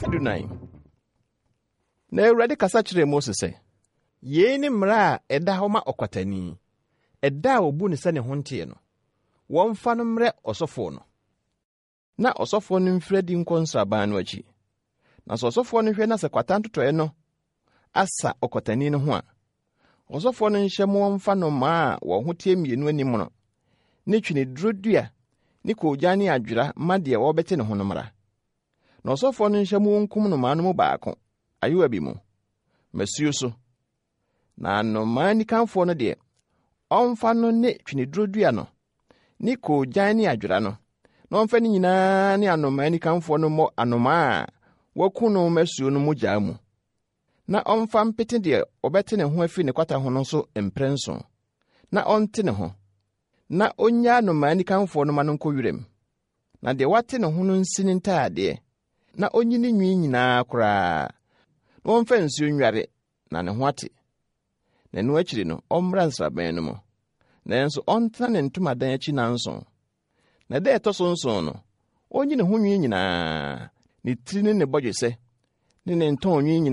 14. Na Awurade kasa kyerɛɛ Mose sɛ, Yei ne mmara a ɛda hɔ ma ɔkwatani, ɛda a wɔbu no sɛ ne ho nteɛ no, wɔmfa no mmrɛ ɔsɔfoɔ no. Na ɔsɔfoɔ no mfiri adi nkɔ nsraban no akyi. Na sɛ ɔsɔfoɔ no hwɛ na sɛ kwata ntotɔeɛ no asa ɔkwatani no ho a, ɔsɔfoɔ no nhyɛ mo wɔmfa nnomaa a wɔn ho teɛ mmienu animono, ne tweneduro dua ne koogyan ne adwera ma deɛ wɔrebɛte ne ho no mmra. Na ɔsɔfoɔ no nhyɛ mo wɔnkum nnomaa no mu baako ayowa bi mu, masuo so. Na nnomaa nikanfoɔ no deɛ, ɔmfa no ne tweneduro dua no, ne koogyan ne adwera no, na ɔmfa ne nyinaa ne anomaa nikanfoɔ no mmɔ anomaa a wɔaku no masuo no mogyaa mu, na ɔmfa mpete deɛ ɔbɛte ne ho afiri ne kwata ho no so mprɛnson, na ɔnte ne ho, na ɔnnyaa anomaa nikanfoɔ no ma no nkɔ wiram. Na deɛ wate ne ho no nsi ne ntaadeɛ, na ɔnyi ne nwi nyinaa koraa, na ɔmfa nsuo nnware, na ne ho ate. Na ɛno akyiri no, ɔmmra nsraban no mu. Nanso ɔntena ne ntomadan akyi nnanson. Na da a ɛtɔ so nson no, ɔnyi ne ho nwi nyinaa, ne tiri ne ne bɔdwesɛ, ne ne ntɔn nwi nyinaa.